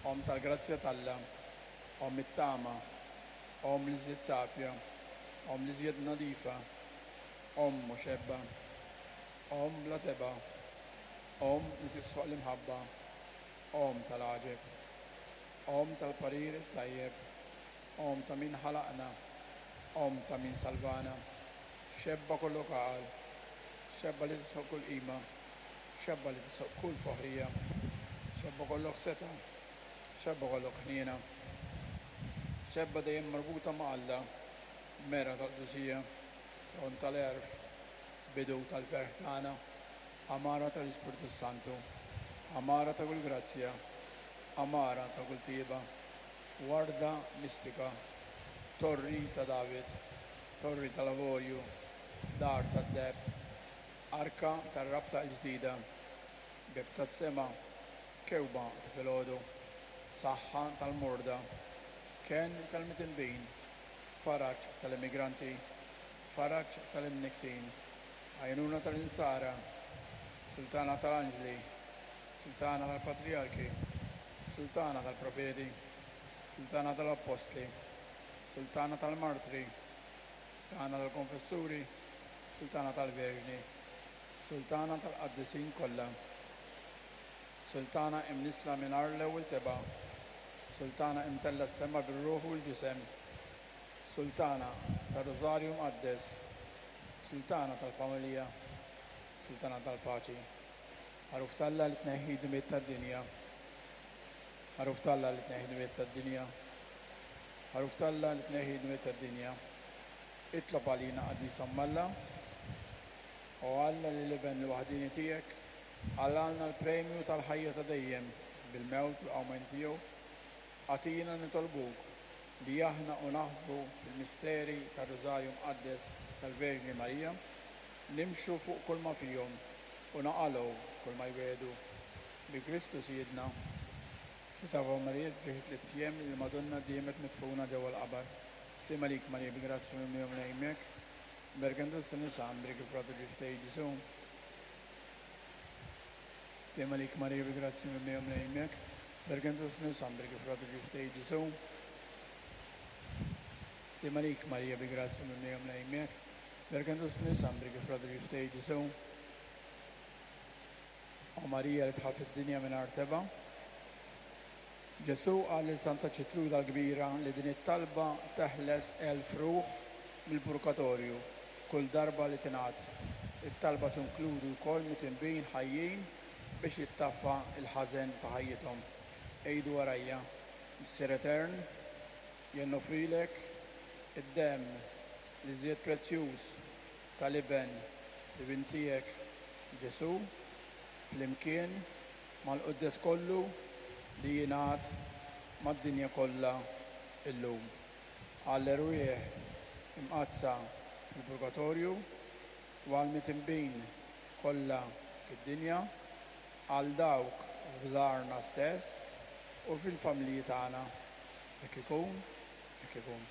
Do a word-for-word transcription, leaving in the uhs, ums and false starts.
Omm tal-grazzja t'Alla, Omm it-tama, Omm l-iżjed safja, Omm l-iżjed nadifa, Omm mhux ebba, Omm bla tebgħa, Omm li tisħoq l-imħabba, Omm tal-għaġeb, Omm tal-parir it-tajjeb, Omm ta' min ħalaqna, Omm ta' min salvana, xebba kollok għaqal, xebba li tisħoq kull qima, xebba li tisħoq kull foħrija, xebba kollok setgħa, xebba kollok ħniena, xebba dejjem marbuta ma' Alla, mera tal-qdusija, tron tal-għerf, bidu tal-ferħ tagħna, għamara tal-Ispirtu Santu, għamara ta' kull grazzja, għamara ta' kull tjieba, warda mistika, torri ta' David, torri tal-avorju, dar tad-deheb, arka tar-rabta l-ġdida, bieb tas-sema, kewba ta' filgħodu, saħħa tal-morda, kenn tal-midinbin, faraġ tal-immigranti, faraġ tal-imnikktin, għajnuna tal-insara, sultana tal-anġli, sultana tal-patrijarki, sultana tal-profeti, sultana tal-appostli, sultana tal-martri, sultana tal-konfessuri, sultana tal-verġni, sultana tal-qaddisin kollha, sultana imnissla mingħajr l-ewwel tebgħa, sultana imtellgħa s-sema bir-ruħ u l-ġisem, sultana tar-Rożarju Mqaddes, sultana tal-familja, sultana tal-paċi. Ħaruf t'Alla li tneħħi d-dnubiet tad-dinja. Ħaruf t'Alla li tneħħi d-dnubiet tad-dinja. Ħaruf t'Alla li tneħħi d-dnubiet tad-dinja. Itlob għalina Qaddis Omm Alla. O Alla li l-Iben l-waħdieni tiegħek qalgħalna l-premju tal-ħajja ta' dejjem bil-mewt u l-qawmien tiegħu, agħtina nitolbuk li aħna u naħsbu fil-misteri tar-Rużarju Mqaddes tal-Verġni Marija, nimxu fuq kull ma fihom u naqalgħu kull ma jwiegħdu. Bi Kristu Sidna. Tliet Ave Marijiet b'ġieħ tlitt ijiem li l-Madonna diemet midfuna ġewwa l-qabar. Sliem għalik Marija bi grazzja mimlija Mulej miegħek. Mberken fost in-nisa, mbrek il-frott tal-ġuf tiegħek Ġesù. Sliem għalik Marija bi grazzja mimlija Mulej miegħek. Mberken fost in-nisa, mbrek il-frott tal-ġuf tiegħek Ġesù. Sliem għalik Marija bi grazzja mimlija Mulej miegħek. Mberken fost in-nisa, mbrek il-frott tal-ġuf tiegħek Ġesù. O Marija li dħalt fid-dinja mingħajr tebgħa. Ġesù qal lil Santa Ċitruda l-Kbira li din it-talba teħles elf ruħ mill-purgatorju kull darba li tingħad. It-talba tinkludi wkoll midinbin ħajjin biex jittaffa l-ħażen ta' ħajjithom. Għidu warajja, Missier Etern, jien noffrilek id-demm l-iżjed prezzjuż tal-Iben divin tiegħek Ġesù, flimkien mal-quddes kollu li jingħad mad-dinja kollha illum. Għall-erwieħ imqaddsa fil-purgatorju u għall-midinbin kollha fid-dinja, għal dawk f'darna stess u fil-familji tagħna. Hekk ikun, hekk ikun.